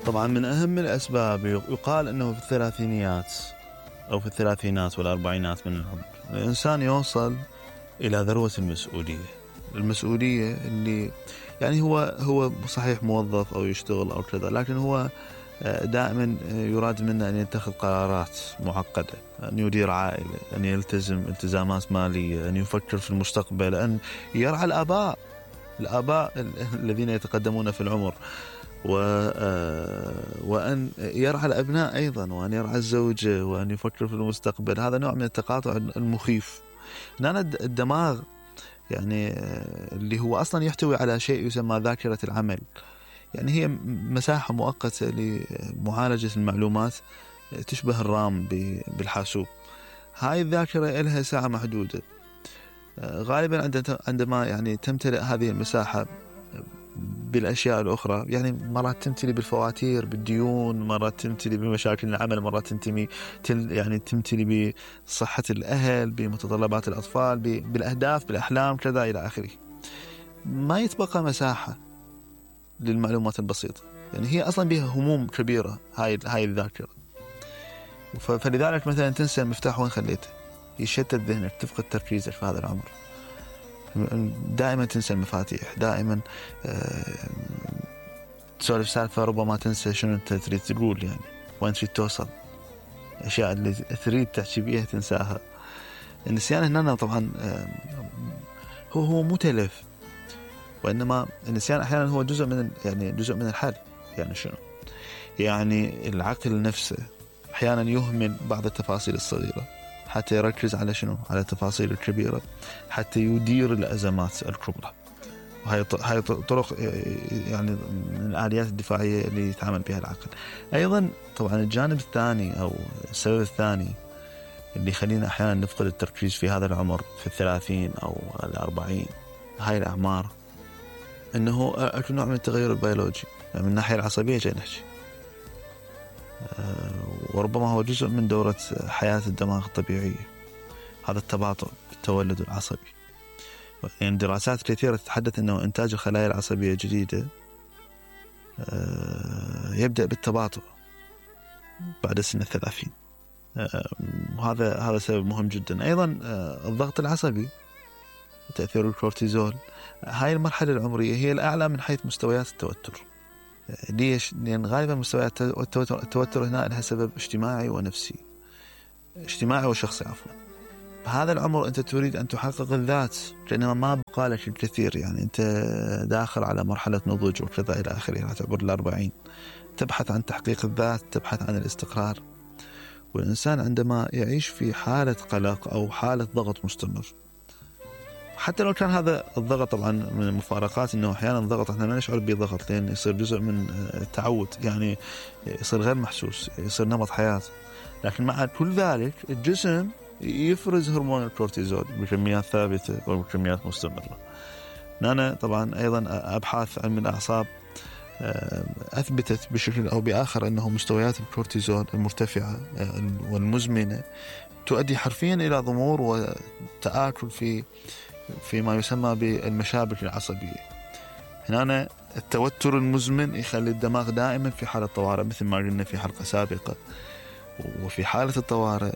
طبعا من أهم الأسباب يقال أنه في الثلاثينيات أو في الثلاثينات والأربعينات من العمر الإنسان يوصل إلى ذروة المسؤولية اللي يعني هو صحيح موظف أو يشتغل أو كذا، لكن هو دائما يراد منه أن يتخذ قرارات معقدة، أن يدير عائلة، أن يلتزم التزامات مالية، أن يفكر في المستقبل، أن يرعى الآباء الذين يتقدمون في العمر، وأن يرعى الأبناء أيضا، وأن يرعى الزوجة، وأن يفكر في المستقبل. هذا نوع من التقاطع المخيف. هنا الدماغ يعني اللي هو أصلا يحتوي على شيء يسمى ذاكرة العمل، يعني هي مساحة مؤقتة لمعالجة المعلومات تشبه الرام بالحاسوب. هاي الذاكرة لها ساعة محدودة. غالبا عندما يعني تمتلئ هذه المساحة بالأشياء الأخرى، يعني مرات تمتلي بالفواتير، بالديون، مرات تمتلي بمشاكل العمل، مرات يعني تمتلي بصحة الأهل، بمتطلبات الأطفال، بالأهداف، بالأحلام، كذا إلى آخره. ما يتبقى مساحة للمعلومات البسيطة، يعني هي أصلا بها هموم كبيرة هاي الذاكرة. فلذلك مثلا تنسى المفتاح وين خليته، يشتت ذهنك، تفقد تركيزك في هذا العمر، دائما تنسى المفاتيح، دائما تسولف سالفة ربما تنسى شنو انت تريد تقول، يعني وين تريد توصل، الأشياء اللي تريد تحكي بيها تنساها. النسيان هنا طبعا هو مو تلف، وإنما النسيان أحيانا هو جزء من الحل. يعني شنو؟ يعني العقل نفسه أحيانا يهمل بعض التفاصيل الصغيرة حتى يركز على شنو؟ على التفاصيل الكبيرة، حتى يدير الأزمات الكبرى. وهي طرق يعني من الآليات الدفاعية اللي يتعامل بها العقل. أيضا طبعا الجانب الثاني أو السبب الثاني اللي يخلينا أحيانا نفقد التركيز في هذا العمر، في 30 أو 40، هاي الأعمار، إنه أكو نوع من التغير البيولوجي، يعني من الناحية العصبية جاي نحكي، وربما هو جزء من دورة حياة الدماغ الطبيعية، هذا التباطؤ بالتولد العصبي. يعني دراسات كثيرة تتحدث أنه إنتاج الخلايا العصبية الجديدة يبدأ بالتباطؤ بعد سن 30. هذا سبب مهم جدا. أيضا الضغط العصبي، تأثير الكورتيزول، هاي المرحلة العمرية هي الأعلى من حيث مستويات التوتر. ليش؟ لأن غالبا مستويات التوتر هنا لها سبب اجتماعي ونفسي، اجتماعي وشخصي عفوا. بهذا العمر أنت تريد أن تحقق الذات، لأنه ما بقى لك الكثير، يعني أنت داخل على مرحلة نضج وكذا إلى آخره، تعبر 40، تبحث عن تحقيق الذات، تبحث عن الاستقرار. والإنسان عندما يعيش في حالة قلق أو حالة ضغط مستمر، حتى لو كان هذا الضغط طبعا من المفارقات أنه أحيانا الضغط احنا ما نشعر بضغط، لأن يصير جزء من التعود، يعني يصير غير محسوس، يصير نمط حياة. لكن مع كل ذلك الجسم يفرز هرمون الكورتيزول بكميات ثابتة وبكميات مستمرة. أنا طبعا أيضا أبحاث علم الأعصاب أثبتت بشكل أو بآخر أنه مستويات الكورتيزول المرتفعة والمزمنة تؤدي حرفيا إلى ضمور وتآكل في ما يسمى بالمشابك العصبية. هنا التوتر المزمن يخلي الدماغ دائما في حالة طوارئ، مثل ما قلنا في حلقة سابقة. وفي حالة الطوارئ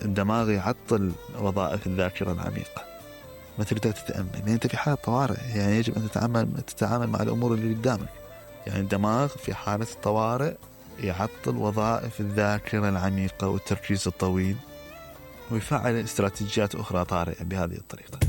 الدماغ يعطل وظائف الذاكرة العميقة، ما تقدر تتأمل، يعني أنت في حالة طوارئ، يعني يجب أن تتعامل مع الأمور اللي قدامك. يعني الدماغ في حالة الطوارئ يعطل وظائف الذاكرة العميقة والتركيز الطويل، ويفعل استراتيجيات أخرى طارئة بهذه الطريقة.